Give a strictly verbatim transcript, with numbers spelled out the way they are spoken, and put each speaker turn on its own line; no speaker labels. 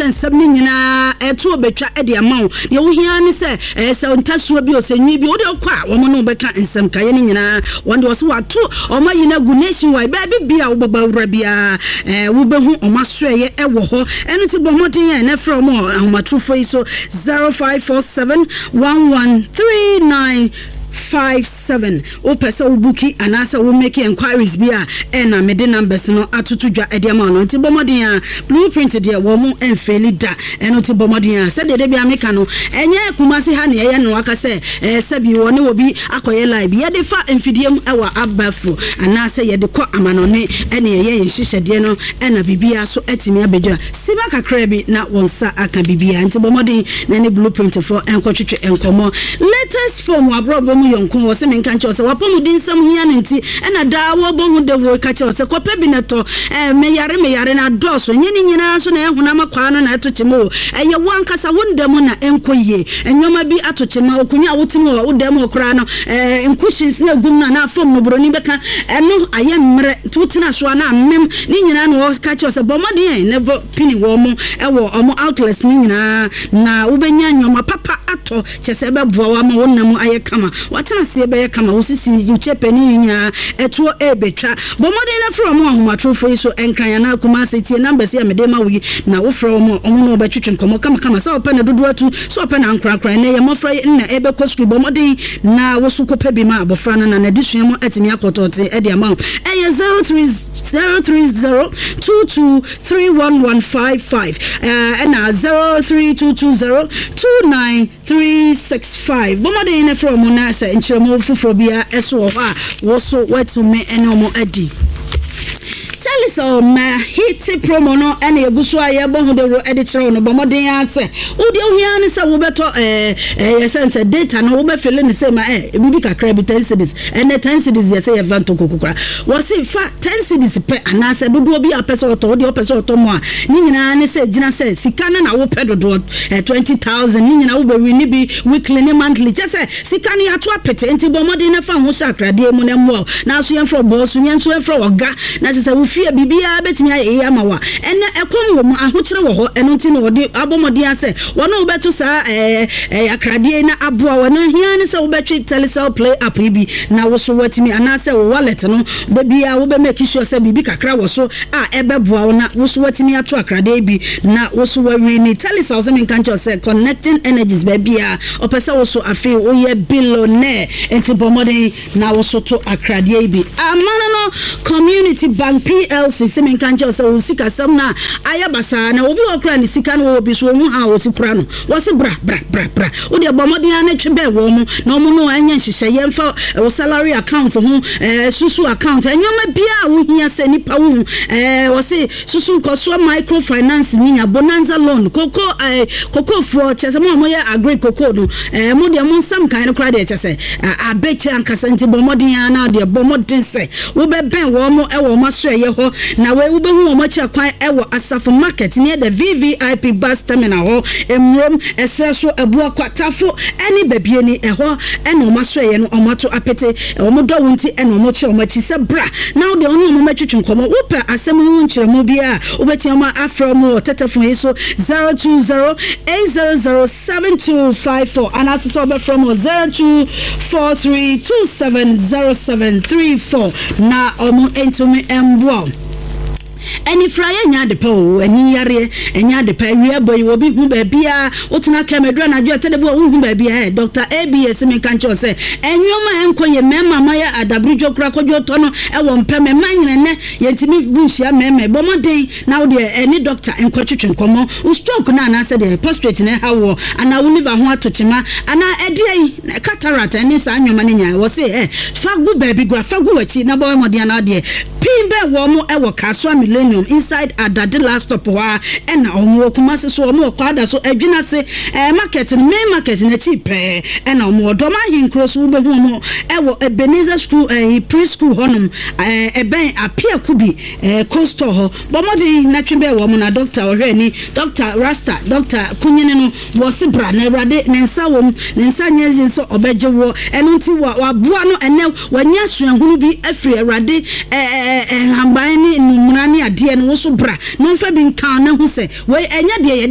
Sɛ nsɛm no nyinaa ɛto obɛtwa de ama wo. Deɛ wohia ne sɛ ɛɛ sɛ ntasuo bi o, sɛ nwi bi, wode wokɔ a, wɔn ne wobɛka nsɛm kaeɛ no nyinaa. Wɔn deɛ wɔsɛ wɔato ɔmo ayi no agu nationwide. Baabi bia wobɛba wura biara, ɛɛ wobɛhu ɔmo asoɛyɛ ɛwɔ hɔ. Ɛno nti bɔ mmɔden a ɛnɛ frɛ ɔmo ahomatorofo yi so: zero five four seven one one three nine five seven. Wopɛ sɛ wo book anaasɛ wo make enquiries bi a, ɛna mede numbers no atoto dwa ɛde ama no. Nti bɔ mmɔden a Blueprint deɛ, wɔ mo ɛmfeeli da. Ɛno nti bɔ mmɔden a sɛdeɛ de bia meka no, ɛnyɛ Kumase ha ne ɛyɛ no aka sɛ ɛɛ sɛbi wɔ ne wɔ bi akɔyɛ live. Yɛde fa mfidie mu ɛwɔ abafo anaasɛ yɛde kɔ amanɔne, ɛne ɛyɛ yɛn nhyehyɛdeɛ no, ɛna biribiara so ɛtumi abɛdwa sima kakra bi na wɔn nsa aka biribiara. Nti bɔ mmɔden na ne Blueprint foɔ ɛnkɔtwetwe nkɔmmɔ. Latest form aborɔbɔ mu yɔnko wɔ sɛ menka nkyɛw sɛ wapɔmuden nsɛm hia no, nti ɛna daa wɔbɔ ho dawuro ka kyerɛw sɛ kɔpɛ bi na tɔ. ɛɛ meyare meyare na adɔɔso. Ɛnyɛ ne nyinaa nso na ɛhonam akwaa no na ɛto kyema o, ɛyɛ wo ankasa wo nda mu na ɛnkɔ yie. Nneɛma bi ato kyema okonnwa a wote mu wɔ wo dan mu hɔ koraa no, ɛɛ cushions na egum no anaa fam no, buroni bɛka ɛno ayɛ mmerɛ, nti wotena so a na amem ne nyinaa. Na wɔka kyerɛw sɛ bɔ mmɔden na ɛbɔ pini wɔ mo ɛwɔ ɔmo outlets ne nyinaa na wobɛnya nneɛma papa atɔ, kyɛ sɛ ɛbɛboa wo ama wo nam ayɛ kama, watena aseɛ bɛyɛ kama, wo sisi, wo kyɛ panin nyinaa ɛtoɔ ɛrebɛtwa. Bɔ mmɔden na frɛ ɔmo ahomatorofo yi so, Ɛnkran anaa Kumase. Tie numbers yi a mede ma wo yi na wofrɛ wɔn a, ɔmo ne wɔbɛtwetwe nkɔmmɔ kamakama, sɛ wɔpɛ no dodoɔ atu, sɛ wɔpɛ no ankorakora. Ɛnɛ yɛ mmɔfra yi nna ɛbɛkɔ sukuu. Bɔ mmɔden na woso kɔpɛ bi ma abɔfra no na n'adesua mu atumi akɔtɔɔte ɛde ama wo. Ɛyɛ zero three zero three zero two two three one one five five ɛna zero three two two zero two nine three six five. Bɔ mmɔden na frɛ ɔmo na sɛ nkyerɛmu foforɔ biara ɛso wɔ hɔ a, wɔso wɔatumi ɛne ɔmo adi. Telecel ma hit promo no ɛna egu so a yɛbɔ ho dawuro ɛde kyerɛw no. Bɔ mmɔden ara sɛ wodeɛ ohia ne sɛ wobɛtɔ ɛɛ ɛyɛ sɛ sɛ data no wobɛfill ne sɛ ma ɛ bibi kakra bi, ten cedis. Ɛnɛ ten cedis yɛ sɛ yɛfa ntoko kokora. Wɔsi fa ten cedis pɛ anaasɛ dodoɔ bi a pɛ sɛ ɔtɔ, wodeɛ ɔpɛ sɛ ɔtɔ mu a, ne nyinaa ne sɛ gyina sɛ sika no na wopɛ dodoɔ ɛ twenty thousand. Ne nyinaa wobɛwi ne bi weekly ne monthly, kyɛ sɛ sika no yɛato apete. Nti bɔ mmɔden na fa ho hyɛ akradeɛ mu na mmoa wo na so yɛmfrɛ bɔɔ so, yɛn nso yɛmfrɛ ɔga na kyɛ sɛ wo fie biribiara bɛtumi ayɛ yie ama wa. Ɛnɛ ɛkɔm wɔ mu, ahokyerɛ wɔ hɔ. Ɛno nti na wɔde abɔ mmɔden asɛ wɔne wobɛto saa ɛɛ ɛɛ akradeɛ na aboa wɔn. Hia ne sɛ wobɛtwe Telecel Play app yi bi na woso watumi anaasɛ wo wallet no baabiara wobɛ make sure sɛ biribi kakra wɔ so a ɛbɛboa wo na woso watumi ato akradeɛ bi na woso wawi ne Telecel. Sɛ menka nkyɛw sɛ connecting energies baabiara ɔpɛ sɛ woso afei woyɛ billionaire, nti bɔ mmɔden na woso to akradeɛ yi bi. Amana no Community Bank P L C sɛ menka nkyɛw sɛ wo sikasɛm no a ayɛ basaa na obi wɔ kora ne sika no wɔwɔ bi so wɔhu ha a wɔsi kora no, wɔsi bra bra bra bra. Wodeɛ bɔ mmɔden a ne twe bɛn wɔn mo na wɔn no ɛnyɛ nhyehyɛ yɛmfa wo salary account ho, ɛɛ susu account, nneɛma biara a wohia sɛ nipa wo ho. ɛɛ wɔsi susu nkɔsoɔ microfinance ninya bonanza loan, koko ɛɛ kokofoɔ, kyɛ sɛ mo a moyɛ agri koko no, ɛɛ mo deɛ mo nsam kan no koraa deɛ, kyɛ sɛ abɛkyɛ ankasa. Nti bɔ mmɔden a na deɛ bɔ mmɔden sɛ wobɛbɛn wɔn mo ɛwɔ wɔn aso ɛyɛ hɔ na wei wobɛhu wɔn akyi akwan ɛwɔ Asafo Market near the V V I P bus terminal hɔ, Emurom ɛsrɛ so, Ɛboakwa, Tafo ɛne Baabieni ɛhɔ ɛna wɔn aso ɛyɛ no. Wɔn ato apete wɔn dɔ wɔn ti ɛna wɔn kyerɛ wɔn akyi sɛ bra na wɔde wɔn ne wɔn mɛtwitwi nkɔmɔ. Wopɛ asɛm ho nkyerɛmu bi a, wobɛtia wɔn afrɛ wɔn wɔ tɛtɛfon yi so: zero two zero eight zero zero seven two five four, anaasɛ sɛ wɔbɛfrɛ wɔn zero two four three two seven zero seven three four na wɔn ntumi mboa wo. Anifraeɛ nyɛ ade pa o, ani yareɛ ɛnyɛ ade pa. Awia bɔ yi, obi hu baabiaa wotena kɛm aduru anadwo ɛtɛde bi a wohu baabiaa. Ɛ Doctor A B S menka nkyɛw sɛ ɛnwoma a ɛnkɔ yɛ mmarima mayɛ adaberedwo kora kɔdwo tɔ no ɛwɔ mpɛm ɛma nyina. Nnɛ yɛntumi bu nhyia mmarima. Bɔ mmɔden na wodeɛ ɛne doctor nkɔtwetwe nkɔmmɔ. Wo stroke no anaasɛ deɛ prostate na ɛha woɔ anaa wo liver ho ato kyema anaa ɛdeɛ yi cataract ɛne saa nnwoma no nyinaa, wɔ se ɛ fa gu baabi gura, fa gu w'akyi na bɔ mmɔden anaa deɛ pii bɛɛ wɔ mo ɛwɔ Kasoa Millennium inside Adade last stop hɔ a ɛna ɔmo wɔ Kumase so. Ɔmo wɔ Kwada so, Adwina se ɛɛ market no, main market n'akyi pɛɛ ɛna ɔmo wɔ Dɔm Ahenkuro so. Wobɛhu ɔmo ɛwɔ Ebenezer School, ɛɛ pre school hɔnom, ɛɛ ɛbɛn Apiakubi ɛɛ coastal hɔ. Bɔ mmɔden na twe bɛɛ wɔ mo na doctor ɔhwɛ ni, Doctor Rasta, Doctor Kunyini no wɔ se bra na Awurade ne nsa wɔ mu, ne nsa nyɛ yin sɛ ɔbɛgye wɔ. Ɛno nti wɔ waboa no. Ɛnɛ wanya suahunu bi afiri Awurade ɛɛ ɛɛ nhaban ne numuna ne adeɛ no. Woso bra na ɔmfa bi nka na ho sɛ wei ɛnyɛ deɛ yɛde